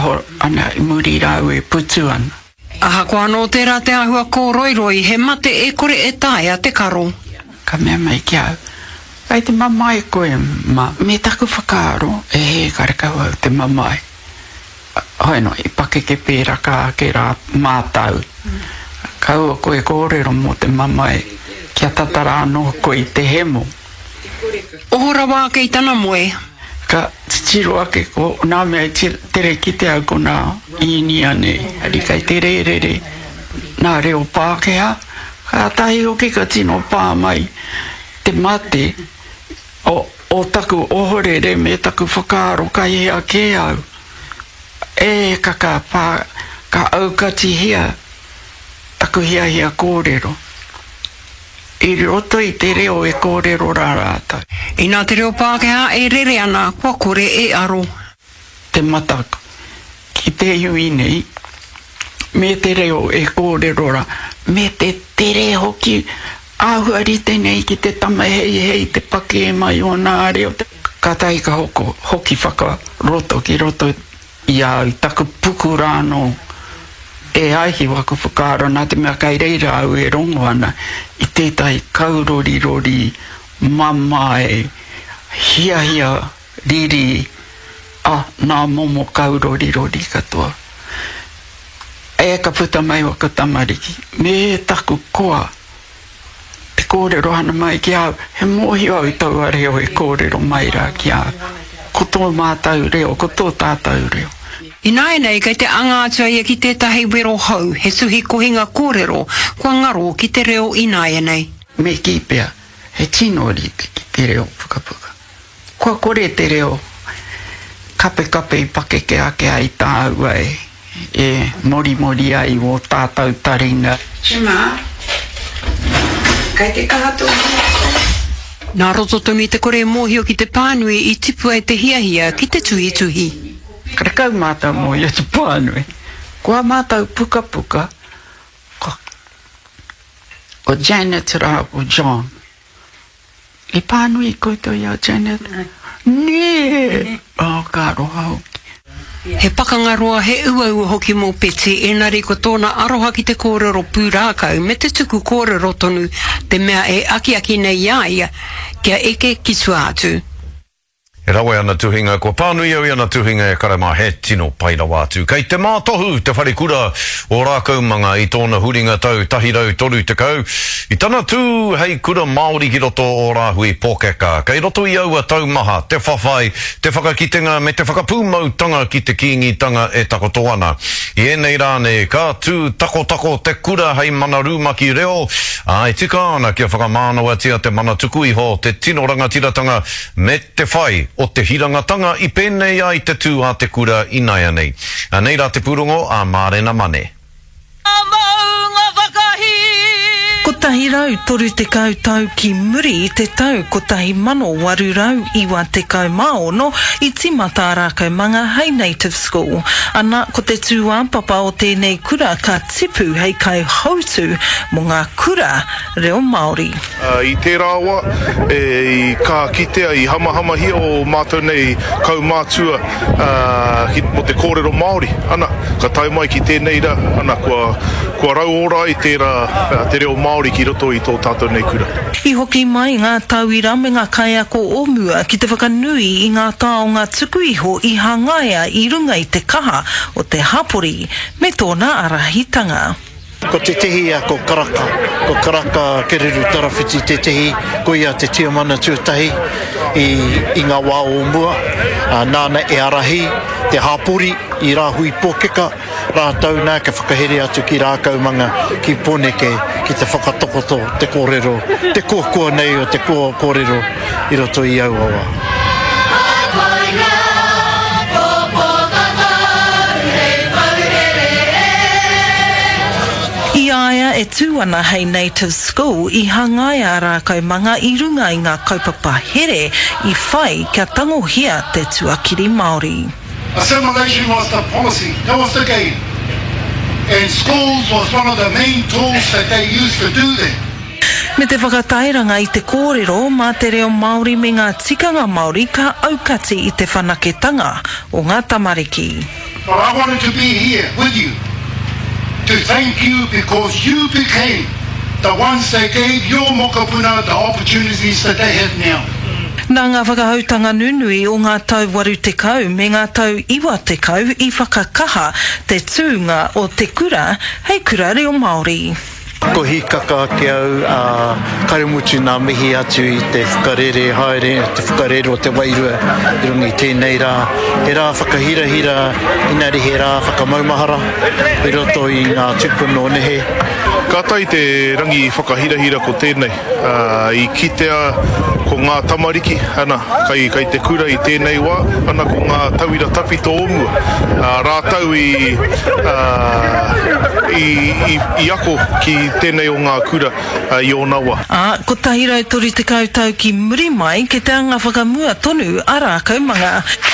waho ana i muri rāua e putu ana. Ahakoa anō tērā te āhua kōroiroi, he mate e kore e taea te karo. Ka mea mai ki a au, Kei te mamae koe, ma. Me taku whakaaro, e hē karekau au te mamae. Hoi anō, i pakeke pēraka ake rā mātau. Kaua koe kōrero mō te mamae, kia tata rā anō koe i te hemo. Oho rawa ake i tana moe. Ka titiro ake ko nā mea i tere kite au ko nā Īnia nei, engari kei te rērere nā reo Pākehā, kātahi hoki ka tino pā mai te mate o, o taku ohorere me taku whakaaro kai hea kē au. E ka ka pā, ka aukatihia taku hiahia kōrero. I roto i te reo e kōrero rā rātou. Inā te reo Pākehā e rere ana, kua kore e aro. Te mataku ki te iwi nei, me te reo e kōrero rā, me te tere hoki, āhua rite nei ki te tama heihei te pakē mai o nā reo. Kātahi ka hoko, hoki whakaroto ki roto I a au, taku puku rā anō, e ai ki waku whakaaro, nā te mea kei reira au e rongo ana i tētahi kaurorirori mamae, hiahia, riri, a, nā momo kaurorirori katoa. E ka puta mai waku tamariki, me taku koa. Te kōrero ana mai ki a au, he mōhio au i taua reo e kōrero mai rā ki a au. Ko tō mātau reo, ko tō tātau reo. Ināianei kei te anga atu a ia ki tētahi wero hou, he tuhi kohinga kōrero kua ngaro ki te reo ināianei. Me kī pea, he tino rite ki te reo pukapuka. Kua kore te reo kapekape i pakeke ake ai tāua e, e morimori ai wō tātau taringa. Gemma, kei te kaha tō hiahia? Nā roto tonu i te kore mōhio ki te pānui i tipu ai te hiahia ki te tuhituhi. Karekau mātau mōhio te pānui. Ko ā mātau pukapuka, ko, ko Janet rāua ko John. I pānui koutou i a Janet? Nē! Oh, ka aroha hoki. He pakanga roa, he uaua hoki mō Betsy, engari ko tōna aroha ki te kōrero pūrākau me te tuku kōrero tonu te mea e akiaki nei i a ia kia eke ki tua atu. E rawe ana tuhinga, kua pānui au i ana tuhinga e kare mā, he tino pai rawa atu. Kei te mātohu te wharekura o Rākaumanga i tōna huringa tau 130, i tana tū hei kura Māori ki roto o Rāhui Pōkeka. Kei roto i aua tau maha te whawhai, te whakakitenga me te whakapūmautanga ki te Kīngitanga e takoto ana. I ēnei rā nei, ka tū takotako te kura hei mana rumaki reo, ā, e tika ana kia whakamānawatia te mana tuku iho, te tino rangatiratanga, me te whai o te hirangatanga i pēnei ai te tū a te kura inaianei. Anei rā te pūrongo a Mārena Mane. 130 tau ki muri i te tau 1896 i tīmata a Rākaumanga hei Native School. Ana, ko te tūāpapa o tēnei kura ka tipu hei kaihautū mō ngā kura reo Māori. I tērā wā, i kaha kitea, i hamahamahia ō mātou nei kaumātua mō te kōrero Māori. Ana, ka tae mai ki tēnei rā, ana, kua, kua rauora ai tērā, te reo Māori ki roto i tō tātou nei kura. I hoki mai ngā tauira me ngā kaiako o mua ki te whakanui i ngā taonga tuku iho i hangaia i runga i te kaha o te hapori me tōna ārahitanga. Ko tētehi ko Karaka, ko Karaka Kereru Tarawhiti tētehi, ko ia te tiamana tuatahi i, i ngā wā o mua, nāna e ārahi te hāpori i Rāhui Pōkeka, rātou nā ka whakahere atu ki Rākaumanga, ki Pōneke, ki te whakatakoto te kōrero, te koakoa nei o te kōrero i roto i aua wā. I a ia e tū ana hei Native School, i hangaia a Rākaumanga i runga i ngā kaupapa here i whai kia tangohia te tuakiri Māori. Assimilation was the policy, that was the game and schools was one of the main tools that they used to do that. Me te whakatairanga i te kōrero mā te reo Māori me ngā tikanga Māori ka aukati i te whanaketanga o ngā tamariki. But I wanted to be here with you to thank you because you became the ones that gave your mokopuna the opportunities that they have now. Nā ngā whakahoutanga nunui o ngā tau 80 me ngā tau 90 i whakakaha te tūnga o te kura hei kura reo Māori. Ko hīkaka ake au, ā, kare mutu nā mihi atu i te whakarere haere, te whakarere o te wairua i runga i tēnei rā. He rā whakahirahira, inari he rā whakamaumahara i roto i ngā tūpuna o nehe. Kātahi te rangi whakahirahira ko tēnei, ā, i kitea ko ngā tamariki, ana, kai, kai te kura i tēnei wā, ana, ko ngā tauira tawhito o mua, ā, rātou i, ā, i, i, i ako ki tēnei o ngā kura, ā, i ōna wā. Ā, 130 tau ki muri mai, kei te anga whakamua tonu a Rākaumanga.